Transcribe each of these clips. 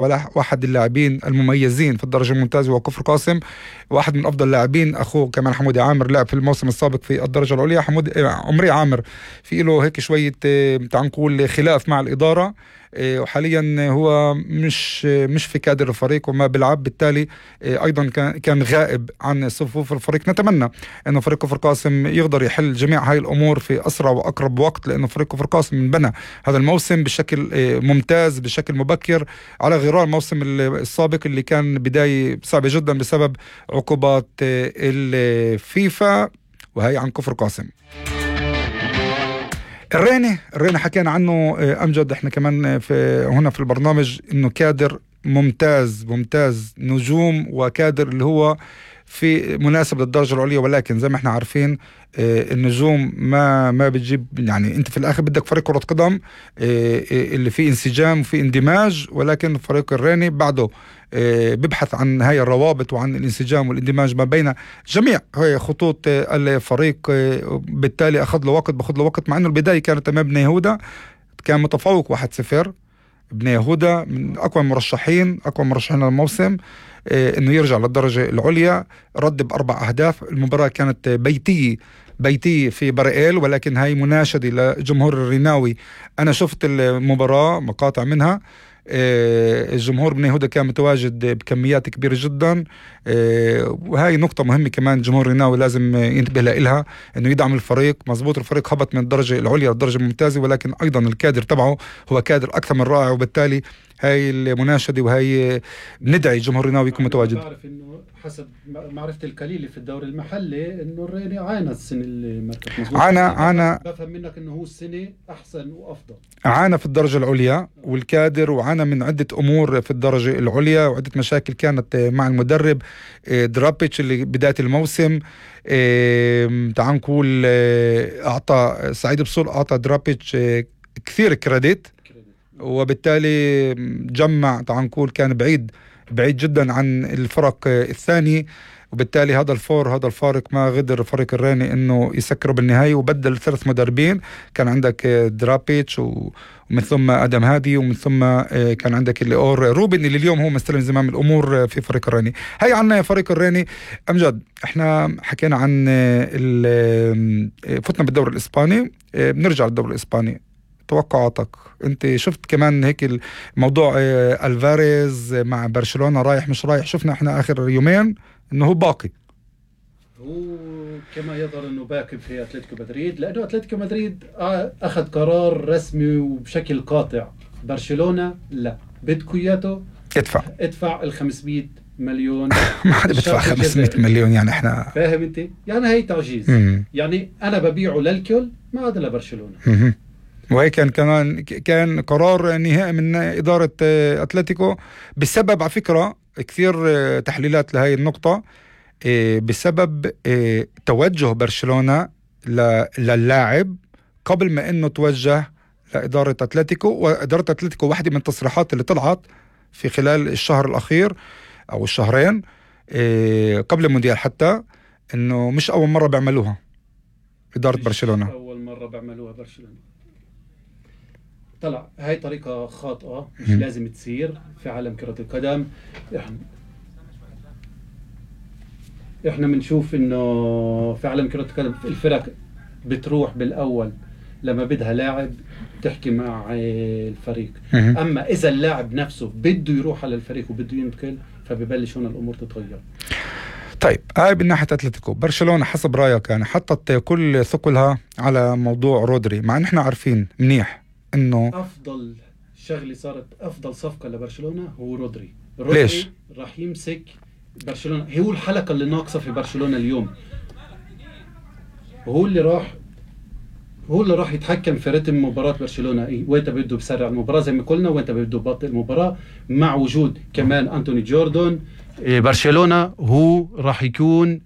واحد اللاعبين المميزين في الدرجة الممتازة هو كفر قاسم. واحد من أفضل اللاعبين أخوه كمان حمودي عامر لعب في الموسم السابق في الدرجة العليا. عمري عامر في له هيك شوية تعال نقول خلاف مع الإدارة، وحاليا هو مش في كادر الفريق وما بيلعب، بالتالي أيضا كان غائب عن صفوف الفريق. نتمنى أنه فريق كفر قاسم يقدر يحل جميع هاي الأمور في أسرع وأقرب وقت، لأنه فريق كفر قاسم بنى هذا الموسم بشكل ممتاز بشكل مبكر على غرار الموسم السابق اللي كان بداية صعبة جدا بسبب عقوبات الفيفا. وهي عن كفر قاسم. الريني حكينا عنه أمجد، احنا كمان هنا في البرنامج انه كادر ممتاز نجوم وكادر اللي هو في مناسب للدرجة العليا، ولكن زي ما احنا عارفين النجوم ما بتجيب، يعني انت في الاخر بدك فريق كرة قدم اللي فيه انسجام وفيه اندماج، ولكن فريق الريني بعده بيبحث عن هاي الروابط وعن الانسجام والاندماج ما بين جميع هاي خطوط الفريق. بالتالي باخذ له وقت، مع انه البداية كانت امام بني يهودا، كان متفوق 1-0. بني يهودا من اقوى المرشحين للموسم انه يرجع للدرجة العليا، رد ب4 أهداف. المباراة كانت بيتية في برائيل، ولكن هاي مناشدة لجمهور الريناوي. أنا شفت المباراة مقاطع منها، الجمهور بني يهودا كان متواجد بكميات كبيرة جدا، وهاي نقطة مهمة كمان جمهور الريناوي لازم ينتبه لها، انه يدعم الفريق. مزبوط الفريق هبط من الدرجة العليا للدرجة الممتازة، ولكن ايضا الكادر تبعه هو كادر اكثر من رائع، وبالتالي هاي المناشدة وهي ندعي جمهور الريناوي يكون متواجد. بعرف انه حسب معرفتي القليلة في الدوري المحلي انه الريني عانى السنة اللي مركز. عانى بفهم منك انه هو السنة احسن وافضل. عانى في الدرجة العليا والكادر، وعانى من عدة امور في الدرجة العليا وعدة مشاكل كانت مع المدرب درابيتش اللي بداية الموسم. تعال نقول اعطى سعيد بصول اعطى درابيتش كثير كريديت، وبالتالي جمع تعال نقول كان بعيد جدا عن الفرق الثاني، وبالتالي هذا الفارق ما غدر فريق الريني انه يسكره بالنهاية، وبدل 3 مدربين. كان عندك درابيتش ومن ثم ادم هادي، ومن ثم كان عندك اللي روبن اللي اليوم هو مستلم زمام الامور في فريق الريني. هاي عنا فريق الريني. امجد احنا حكينا عن فتنا بالدوري الاسباني، بنرجع للدوري الاسباني. توقعاتك انت شفت كمان هيك الموضوع الفاريز مع برشلونة رايح مش رايح؟ شفنا احنا اخر يومين انه هو باقي، هو كما يظهر انه باقي في اتلتيكو مدريد، لانه اتلتيكو مدريد اخذ قرار رسمي وبشكل قاطع. برشلونة لا، بدكو اياته ادفع 500 مليون. ما حدا بدفع 500 مليون، يعني احنا فاهم انت؟ يعني هي تعجيز. يعني انا ببيعه للكل، ما عدا لبرشلونة. وهي كان قرار نهائي من إدارة أتلتيكو، بسبب على فكرة كثير تحليلات لهي النقطة، بسبب توجه برشلونة للاعب قبل ما انه توجه لإدارة أتلتيكو. وإدارة أتلتيكو واحدة من التصريحات اللي طلعت في خلال الشهر الأخير أو الشهرين قبل المونديال حتى، انه مش أول مرة بيعملوها إدارة برشلونة، أول مرة بيعملوها برشلونة. طلع هاي طريقة خاطئة، مش لازم تصير في عالم كرة القدم. احنا بنشوف انه في عالم كرة القدم الفرق بتروح بالاول لما بدها لاعب تحكي مع الفريق. اما اذا اللاعب نفسه بده يروح على الفريق وبده ينتقل، فببلش هنا الامور تتغير. طيب هاي من ناحية أتلتيكو. برشلونة حسب رأيك يعني حطت كل ثقلها على موضوع رودري، مع ان احنا عارفين منيح انه افضل شغله صارت، افضل صفقه لبرشلونه هو رودري. ليش؟ راح يمسك برشلونه، هو الحلقه اللي ناقصه في برشلونه اليوم، وهو اللي راح يتحكم في رتم مباراه برشلونه. وانت بده بسرع المباراه زي ما قلنا، وانت بده ببطئ المباراه، مع وجود كمان أنتوني جوردون. برشلونه هو راح يكون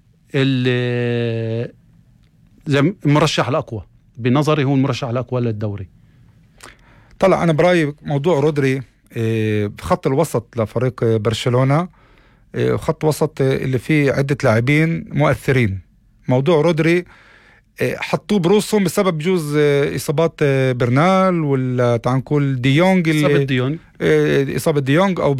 المرشح الاقوى، بنظري هو المرشح الاقوى للدوري. طلع أنا برأيي موضوع رودري خط الوسط لفريق برشلونة، خط وسط اللي فيه عدة لاعبين مؤثرين. موضوع رودري حطوه بروسهم بسبب جوز إصابات برنال ولا تعال نقول ديونج إصابة ديونج إصابة ديونج أو